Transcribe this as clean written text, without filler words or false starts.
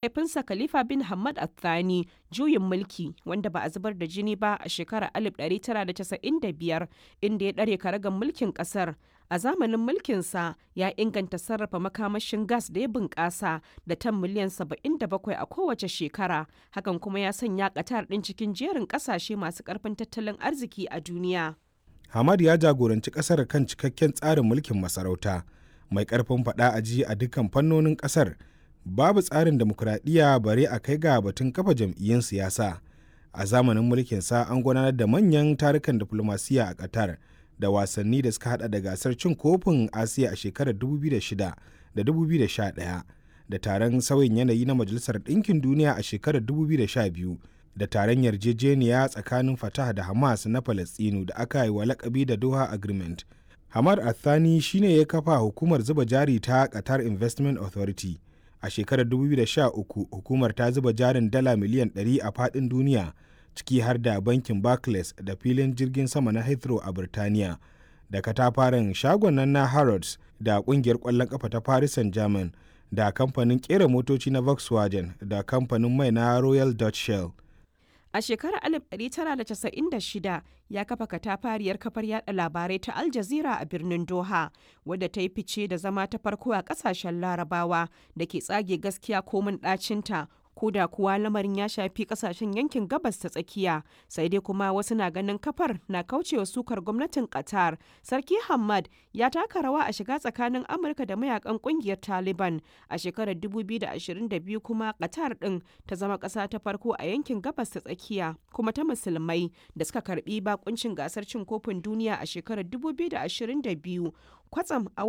Mahaifinsa Khalifa bin Hamad Al Thani juyin mulki wanda ba a zubar da jini ba a shekarar 1995, inda ya ɗare karagar mulkin ƙasar. A zamanin mulkinsa, ya inganta sarrafa makamashin gas da ya bunƙasa da tan miliyan 77 a kowace shekara, hakan kuma ya sanya Qatar ɗin cikin jerin ƙasashe masu ƙarfin tattalin arziki a duniya. Hamad ya jagoranci ƙasar kan cikakken tsarin mulkin masarauta, mai ƙarfin faɗa a ji a dukkan fannonin ƙasar. Babu tsarin dimokuraɗiyya bare a kai ga batun kafa jam'iyyun siyasa. A zamanin mulkinsa an gudanar da manyan tarukan diflomasiyya a Qatar da wasanni da suka hada da gasar cin kofin Asiya a shekarar 2006 da 2011 da taron sauyin yanayi na Majalisar Ɗinkin Duniya a shekarar 2012 da taron yarjejeniya tsakanin Fatah da Hamas na Falastinu da aka yi wa lakabi da Doha Agreement. Hamad Al-Thani shine ya kafa hukumar zuba jari ta Qatar Investment Authority. A shekarar 2013 hukumar ta zuba jarin dala miliyan 100 a faɗin duniya, ciki har da bankin Barclays da filin jirgin sama na Heathrow a Birtaniya da katafaren shagon nan na Harrods da kungiyar ƙwallon ƙafa ta Paris Saint-Germain da kamfanin ƙera motoci na Volkswagen da kamfanin mai na Royal Dutch Shell. A shekarar 1996 ya kafa katafariyar kafar yada labarai ta Al Jazeera a birnin Doha, wadda ta yi fice da zama ta farko a kasashen Larabawa da ke tsage gaskiya komin ɗacinta, ko da kuwa lamarin ya shafi kasashen yankin Gabas ta Tsakiya. Sai dai kuma wasu na ganin kafar na kaucewa sukar gwamnatin Qatar. Sarki Hamad ya taka rawa a shiga tsakanin Amurka da mayakan kungiyar Taliban a shekarar 2022. Kuma Qatar din ta zama kasa ta farko a yankin Gabas ta Tsakiya kuma ta Musulmai da suka karbi bakuncin gasar cin kofin duniya a shekarar 2022. Kwatsam a watan